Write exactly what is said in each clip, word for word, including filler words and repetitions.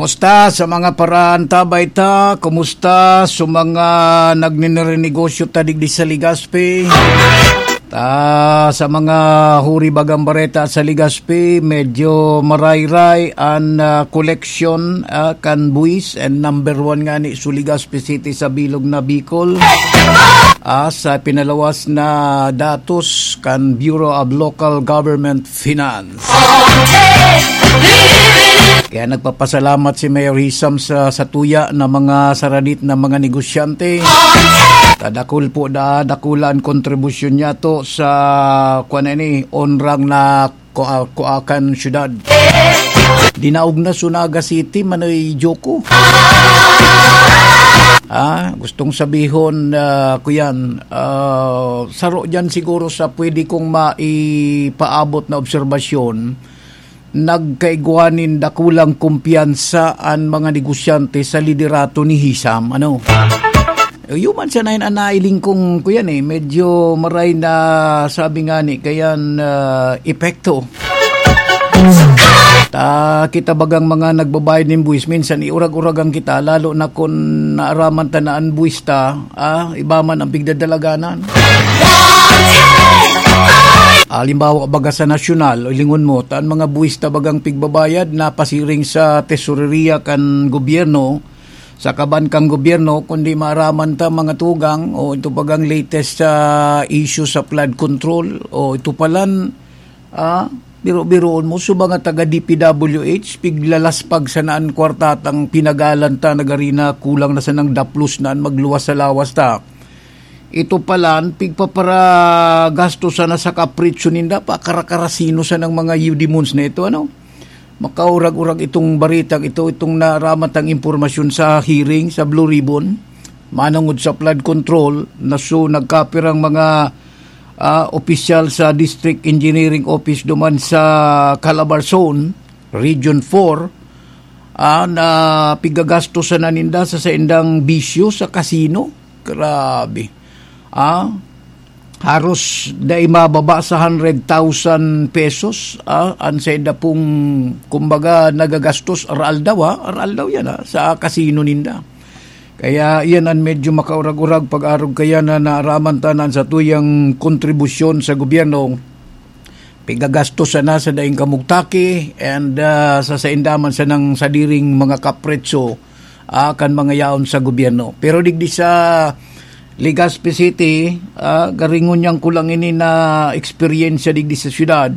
Kumusta sa mga paraantabay ta? Kumusta sa mga nagninegosyo ta digdi sa Legazpi? Ta, sa mga huri bagang bareta sa Legazpi, medyo marayray an, ah, koleksyon, ah, kan buwis, and number one nga ni sa Legazpi City sa bilog na Bicol. Ah, sa pinalawas na datos kan Bureau of Local Government Finance. Kaya nagpapasalamat si Mayor Hisam sa, sa tuya na mga saradit na mga negosyante. Tadakul po da, dakula an kontribusyon niya to sa, kuwan na ini, onrang na kua-, kuakan syudad. Dinaog na sa Naga City, Manoy Joko. Ah, gustong sabihon, ah, kuyan, ah, saro diyan siguro sa pwede kong maipaabot na obserbasyon, nagkaigwa nin dakulang kumpiyansa an mga negosyante sa liderato ni Hisam. Ano? Human sana yan an nailing kong, kuyan eh, medyo maray na sabi nga ni, kayan, ah, epekto. Ta, kita bagang mga nagbabayad nin buwis, minsan iurag-uragan kita, lalo na kun naaraman ta na an buwis ta, ah, iba man ang pigdadalaganan. Halimbawa, baga sa nasyonal, o lingon mo, ta an mga buwis ta bagang pigbabayad, napasiring sa tesoreria kan gobyerno, sa kaban kan gobyerno, kundi maaraman ta mga tugang, o ito bagang latest sa issue sa flood control, o ito palan, ah, biro-biroon mo, so mga taga D P W H, piglalaspag sana an kwarta tang pinagalan ta, nagari na kulang na sanang daplos na an magluwas sa lawas ta. Ito palan, pigpaparagasto sana sa kapritsyo ninda, pakarakarasino sanang mga yudimons na ito, ano? Makaurag-urag itong baritang ito, itong naaraman tang impormasyon sa hearing sa Blue Ribbon, manungod sa flood control, na so nagkapirang mga, ah, opisyal sa District Engineering Office duman sa Calabarzon, Region four, ah, na pigagasto sana ninda sa saindang bisyo sa kasino. Grabe. Ah, haros dai mababa sa hundred thousand pesos, ah, an sainda pong, kumbaga, nagagastos aroaldaw, ah, aroaldaw yan, ah, sa kasino ninda. Kaya iyan an medyo makaurag-urag pag-arog kaya na naaraman ta na an satuyang kontribusyon sa gobyerno, pigagastos sana sa daing kamugtaki and, ah, sa sainda man sanang sadiring mga kapretso, ah, kan mga yaon sa gobyerno. Pero digdi sa Legazpi City, ah, garingon niyang kulang ini na eksperyensya digdi sa syudad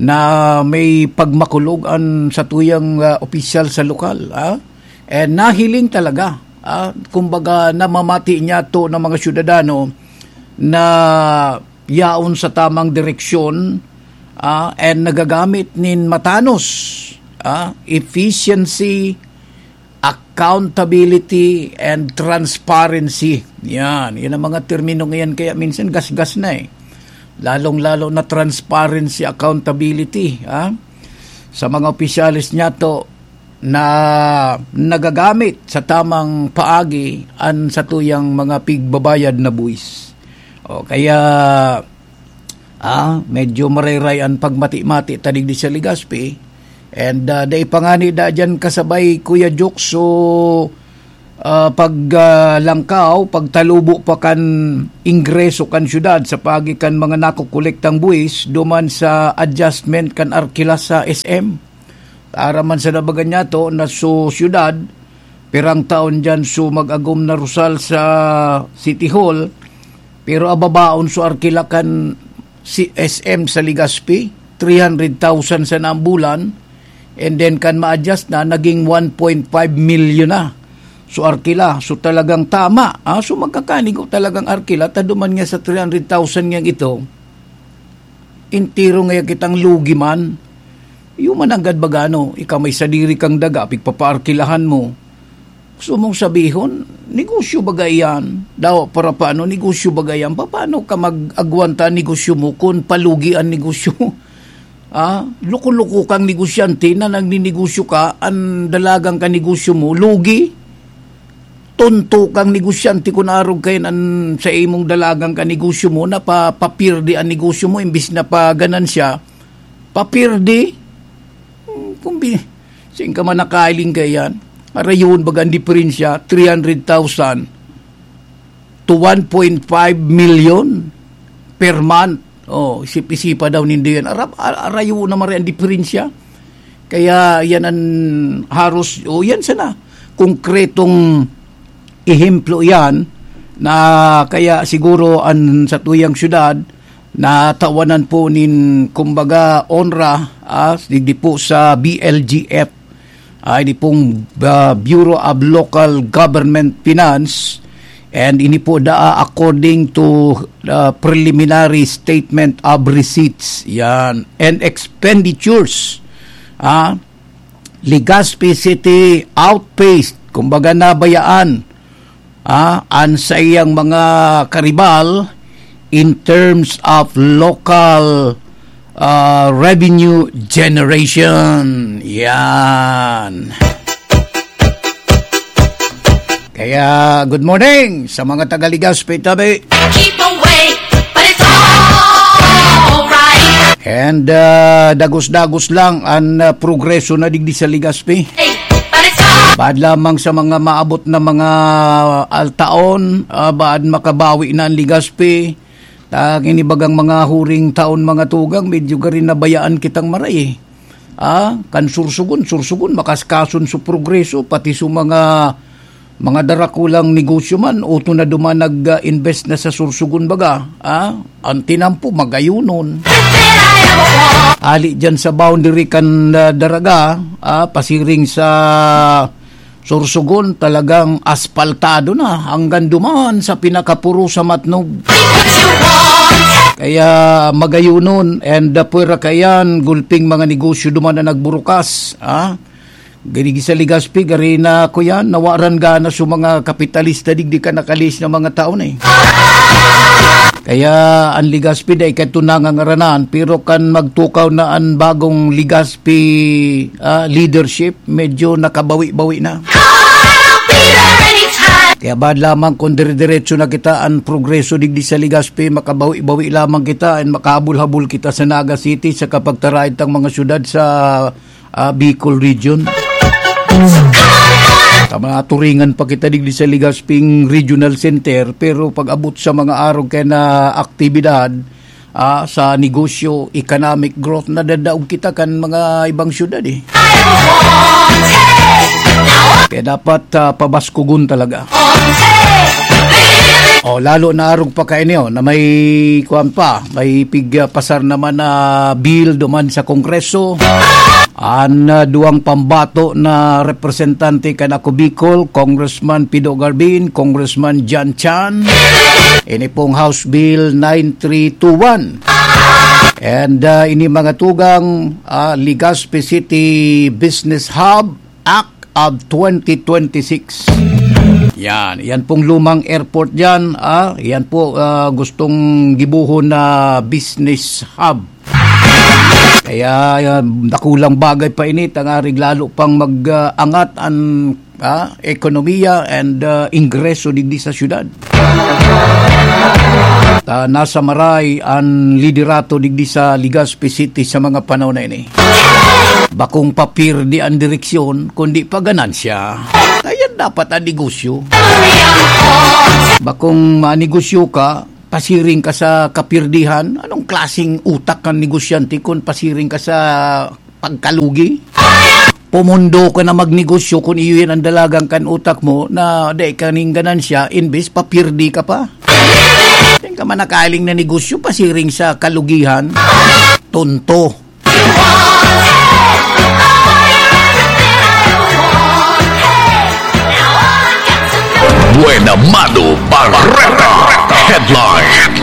na may pagmakulog an satuyang, ah, opisyal sa lokal, ah. And nahiling talaga, ah, kumbaga namamati niya to ng mga syudadano na yaon sa tamang direksyon, ah, and nagagamit nin matanos, ah, efficiency, accountability, and transparency. Yan, yan ang mga termino ngayon. Kaya minsan gasgas na eh. Lalong-lalo na transparency, accountability, ah, sa mga opisyales niya to na nagagamit sa tamang paagi an satuyang mga pigbabayad na buwis. O kaya, ah, medyo marayray an pagmati-mati ta digdi sa Legazpi. And, ah, dai pa ngani da diyan kasabay, Kuya Jok, so, ah, pag, ah, langkaw, pagtalubo pa kan ingreso kan syudad sa paagi kan mga nakokolektang buwis duman sa adjustment kan arkila sa S M. Aram man sa nabagan niya to na so syudad, pirang taon diyan so mag-agom na rosal sa City Hall, pero ababaon so arkila kan si S M sa Legazpi, three hundred thousand sa naambulan, and then kan ma-adjust na, naging one point five million na. So arkila, so talagang tama, ah, so magkakanigo talagang arkila, ta duman nga sa three hundred thousand ngang ito, entero ngaya kitang lugi man. Iyo man nanggad baga, no, ika may sadiri kang daga, pigpapaarkilahan mo. Gusto mong sabihon, negosyo baga iyan? Dawa para paano, negosyo baga iyan? Paano ka mag-agwanta negosyo mo kun palugi an negosyo mo? Ah, loko-loko kang negosyante na nagninegosyo ka, an dalagang ka negosyo mo, lugi. Tonto kang negosyante kun arog kayan an sa imong dalagang ka negosyo mo, na pa, papirdi an negosyo mo, imbis na pa ganansya, papirdi. Hmm, kung bi-, Saan ka man nakailing kaiyan? Arayon, baga ang diferensya, three hundred thousand to one point five million per month. Oh, isip-isipa daw nindo yan. Arab, ar-, arayo naman rin ang diferensya. Kaya yan ang haros, o yan sana, konkretong ehemplo yan na kaya siguro ang satuyang syudad natawanan po nin, kumbaga, onra, ah, digdi po sa B L G F, ah, ini pong, ah, Bureau of Local Government Finance, and ini po daa according to, ah, preliminary statement of receipts, yan, and expenditures, ah, Legazpi City outpaced, kumbaga nabayaan, ah, an saiyang mga karibal in terms of local, ah, revenue generation. Yan. Kaya, good morning sa mga taga Legazpi, tabi. Keep away, but it's alright. And, ah, dagos-dagos lang ang, ah, progreso na digdi sa Legazpi. Hey, but it's all Bad lamang sa mga maabot na mga altaon, ah, bad makabawi na ang Legazpi. Ta, kinibagang mga huring taon, mga tugang, medyo gari nabayaan kitang maray, eh. Ah, kan Sorsogon, Sorsogon, makaskason sa progreso, pati sa mga, mga darakulang negosyo man, uto na duman nag, ah, invest na sa Sorsogon baga. Ah, ang tinampo, magayunon. Ali dyan sa boundary kan, ah, Daraga, ah, pasiring sa Sorsogon, talagang aspaltado na hanggang duman sa pinakapuro sa Matnog. Kaya magayunon, and, uh, pwera kaiyan, gulping mga negosyo duman na nagburukas, ah. Gini sa Legazpi, gari na, kuya, nawaran gana sa mga kapitalista, digdi ka nakalis na mga taon, eh. Kaya ang Legazpi dai kadto nangangaranan, pero kan magtukaw na an bagong Legazpi, ah, leadership, medyo nakabawi-bawi na. Kaya bad lamang kung dire-diretso na kita an progreso digdi sa Legazpi, makabawi-bawi lamang kita and makahabol-habol kita sa Naga City sa kapagtaraid tang mga syudad sa ah, Bicol Region. Tama, turingan pa kita digdi sa Legazping Regional Center, pero pag-abot sa mga arog kaya na aktibidad, ah, sa negosyo, economic growth, nadadaog kita kan mga ibang syudad, eh. Kaya dapat, ah, pabaskugon talaga. Oh, lalo na arog pa kaini, oh, na may kuwan pa, may pig, ah, pasar naman na bill duman sa Kongreso. An, ah, duwang pambato na representante kan Ako Bicol, Congressman Pido Garbin, Congressman John Chan. Ini pong House Bill nine three two one. And, ah, ini mga tugang, ah, Legazpi City Business Hub, Act of twenty twenty-six. Yan, yan pong lumang airport diyan, ah, yan po, ah, gustong gibohon na business hub. Kaya, ah, dakulang bagay pa ini, tangarig lalo pang mag, ah, angat an, ah, ekonomiya and, ah, ingreso digdi sa syudad. Ta, nasa maray an liderato digdi sa Legazpi City sa mga panahon na ini. Bakong papirdi an direksyon, kundi paganansya. Kaya dapat an negosyo. Bakong manegosyo ka, pasiring ka sa kapirdihan. Anong klaseng utak kan negosyante kun pasiring ka sa pagkalugi? Pumundo ka na magnegosyo kun iyo yan ang dalagan kan utak mo na dai ka ning ganansya, imbes papirdi ka pa. Yan ka man nakaling na negosyo, pasiring sa kalugihan. Tonto. Buena Mano Barreta. Headline.